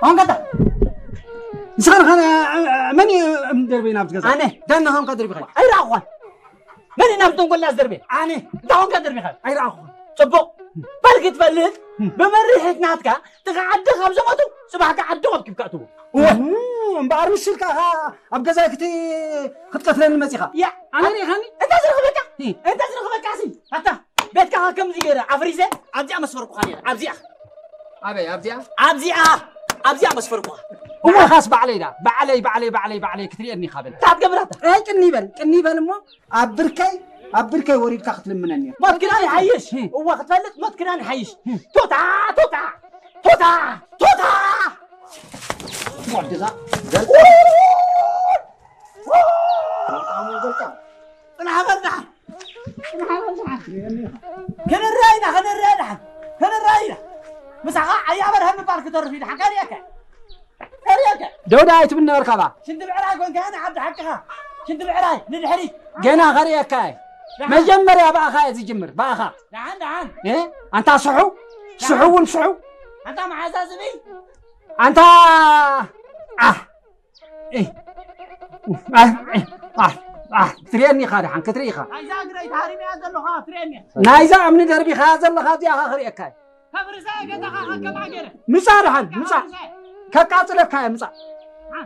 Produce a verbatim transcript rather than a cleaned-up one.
አሁን ቀጣ። ንስኻ ንኻ መን እዩ እምደርቤ ናብቲ ገዛ? ኣነ። ዳና ሆንካ ደርቢኻ? ኣይረኣኹኻን። መን እዩ ናብቲ ተንኮል ኣስደርቤ? ኣነ። እንታይ ሆንካ ደርቢኻ? ኣይረኣኹኻን። ጽቡቕ። በል ክትፈልጥ፣ እም። ብመሪሕት ናትካ፣ ትኻ ዓዲ ካብ ዘመቱ፣ ጽባሕ ከ ዓዲ ቆብኪብካ እትዎ። እወ። እም፣ እምበኣር ምስልካ ኸ ኣብ ገዛይ ክት-፣ ክትቀትለኒ መጺኻ? ያ። ኣነ ርኢኻኒ? እንታይ ዝረኽበካ? እም። እንታይ ዝረኽበካ ሲ? ኣታ። ቤትካ ከምዚ ገይረ ኣፍሪሰ ኣብዚኣ መስፈርኩኻ ነይረ። ኣብዚኣ። ኣበይ ኣብዚኣ? ኣብዚኣ። ኣብዚኣ መስፈርኩኻ። እወ፣ ኻስ ባዕለይ ዳ፣ ባዕለይ፣ ባዕለይ፣ ባዕለይ፣ ባዕለይ ክትርእየኒ ኢኻ በል። እንታይ ትገብር ኣታ? ኣይ፣ ቅኒ በል፣ ቅኒ በል እሞ፣ ኣብ ብርከይ፣ ኣብ ብርከይ ወሪድካ ክትልምነኒ ኢኻ። ሞት ክዳን ይሓይሽ። እም። እወ፣ ክትፈልጥ ሞት ክዳን ይሓይሽ። እም። ቶታ፣ ቶታ፣ ቶታ፣ ቶታ። ወድዛ፣ ዘል-፣ ጽናሕ በል ደሓን። ጽናሕ በል ደሓን። ክንረአይ ኢና፣ ክንረአይ ደሓን። ክንረአይ ኢና። ምሳኻ ዓያ በርሀ ምባል ክተርፍ እዩ ደሓን። ከርእየካ። ከርእየካ። ደውዳ ኣይትብል ነበርካ ባ። ሽንቲ ብዕራይ ኮንካ፣ ኣነ ዓዲ ሓቅኻ። ሽንቲ ብዕራይ ንድሕሪት። ገና ከርእየካ እየ። ደሓን። መጀመርያ ብኣኻ እየ ዝጅምር፣ ብኣኻ። ደሓን፣ ደሓን። እ? ኣንታ ስሑ፣ ደሓን። ስሑ እውን ስሑ። ኣንታ መሓዛዝቢ። ኣንታ፣ ኣህ። ኤህ። ኣህ፣ ኤህ፣ ኣህ፣ ኣህ፣ ትርእየኒ ኢኻ ደሓን፣ ክትርኢ ኢኻ። ናይዛ እግረይ ተሃሪመያ ዘለኻ ትርእየኒ። ናይዛ እምኒ ደርቢኻያ ዘለኻ እዚኣ ኸ ክርእየካ እየ። ከፍርሰ ገዛኻ ከከም ሃገረ። ምጻእ ደሓን፣ ምጻእ። ከፍርሰ። ከቃጽለካ እየ፣ ምጻእ። አ።